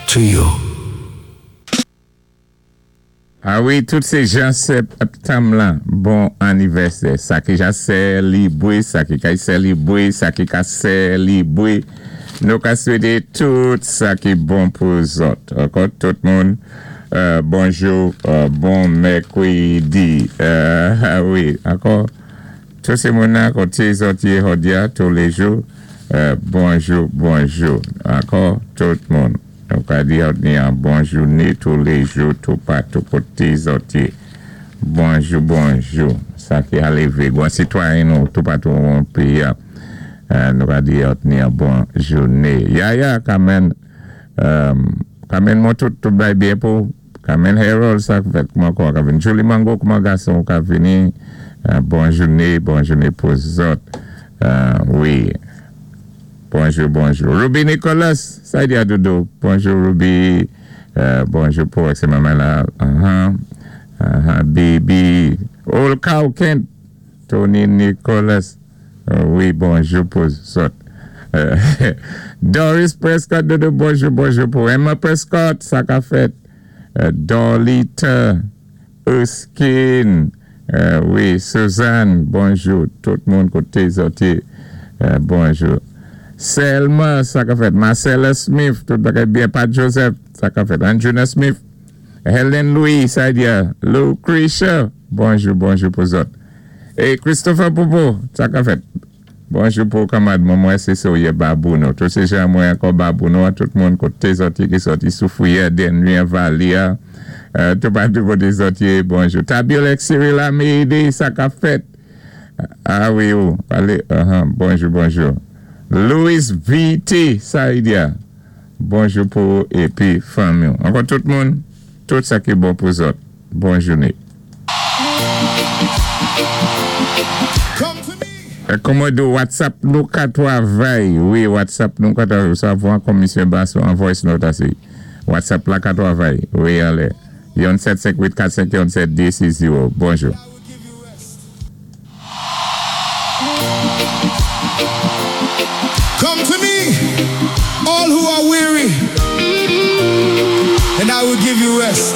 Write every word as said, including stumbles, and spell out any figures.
to you. A wi, tout sé jan sèptanm lan, bon annivèsè. Sa ki ja sélibwé, sa ki kay sélibwé, sa ki ka sélibwé. Nou ka swété tout sa ki bon pou zòt. Ankò, tout moun, euh, bonjou, euh, bon mèkwédi. Euh, a wi, ankò, tout sé moun-nan koté zòt yé jòdi-a, touléjou, euh, bonjou, bonjou. Ankò, tout moun. Nou ka di an bon jouné touléjou, toupatou koté zòt yé. Bonjou, bonjou. Sa ki a lévé. Bon sitwayen nou, toupatou an péyi-a. Euh, nou ka di an bon jouné. Yaya, Kamen, euh, Kamen mwen tout, tout bay byen pou Kamen Harold, sa fèt kouman kwa ka vini. Julie Mango, kouman gason ka vini. Euh, bon jouné, bon jouné pou zòt. Euh, wi. Bonjou, bonjou. Ruby Nicholas, sa di a dodo. Bonjou Ruby. Euh, bonjou pou sé manman la. Uh-huh. Uh-huh. Baby. Old Cow Kent. Tony Nicholas. Euh, wi, bonjou pou zòt. Euh, Doris Prescott, dodo, bonjou, bonjou pou Emma Prescott, sa ka fèt. Euh, Dolita Erskine. Euh, wi, Suzanne, bonjou. Tout moun koté zòt yé. Euh, bonjou. Selma, sa ka fèt. Marcella Smith, tout bagay byen. Pat Joseph, sa ka fèt. Andrina Smith, Helen Louis, sa di a. Lucretia, bonjou, bonjou pou zòt. É Christopher Popo, sa ka fèt. Bonjou pou kanmad mwen mwen sé so yé Babouno. Tout sé jan mwen ankò Babouno, tout moun koté zòt yé ki sòti Soufrière, Dennery, Valia, euh, toupatou koté zòt yé, bonjou. Tabiolek Cyril Amédée, sa ka fèt. A wi, ou, alé, uh-huh, bonjou, bonjou. Louis V T, sa di a. Bonjou pou épi fanmi. Ankò tout moun, tout sa ki bon pou zòt. Bon jouné. Come to me. Kòman di WhatsApp nou ka twavay. Wi, WhatsApp nou ka twavay. Sa voix komisyon baso an voice note asé. WhatsApp la ka twavay. Wi, alé. Yon sèt senk uit kat senk yon sèt dé sis zewo. Bonjou. I will give you rest. Come to me, all who are weary, and I will give you rest.